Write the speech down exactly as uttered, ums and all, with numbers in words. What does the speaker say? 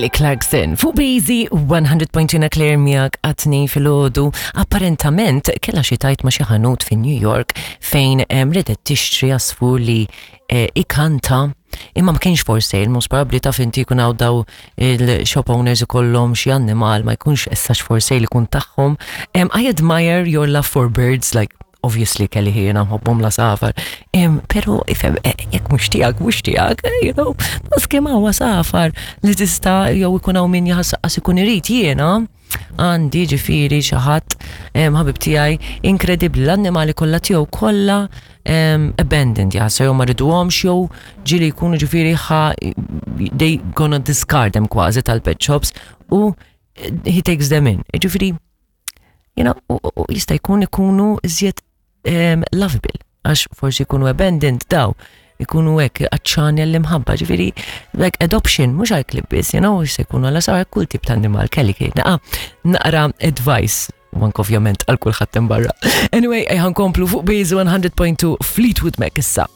Kelly Clarkson fuq Busy one hundred point two, Claire miegħek għat-tnejn filgħodu. Apparentament kella xi tajt ma' xi ħanut fi New York fejn em, ridet tixtri għasfur li eh, ikanta, imma ma kienx for sale. Most probably, taf inti, jkun hawn daw il-shop owners, ikollhom xi annimal, ma jkunx essax for sale, ikun tagħhom. Um, I admire your love for birds, like, obviously kelli jiena nħobbhom l-għasafar. Um, pero ifhem, eh, jekk mhux tiegħek, mhux tiegħek, eh, you know, kemm hawn għasafar li tista' jew ikun hawn min jaħasqas ikun irid. Jiena għandi ġifieri xi ħadd, ħabib tiegħi inkredibbli, l-annimali kollha tiegħu kollha um, abandoned, jaħsa jew ma riduhomx jew ġieli jkunu ġifieri ħa they gonna discard them kważi tal-pet shops u he takes them in. Ġifieri, you know, u, u jista' jkun ikunu iżjed um, lovable, għax forsi jkunu abandoned, daw ikunu hekk għatxani għall-imħabba, ġifieri, like adoption, mhux għal klieb biss, you know, jista' jkunu għal sar kull tip ta' animal, kelli kien naqra advice, u anke ovvjament għal kulħadd barra. Anyway, ħa nkomplu fuq Base one hundred point two, Fleetwood Mac issa.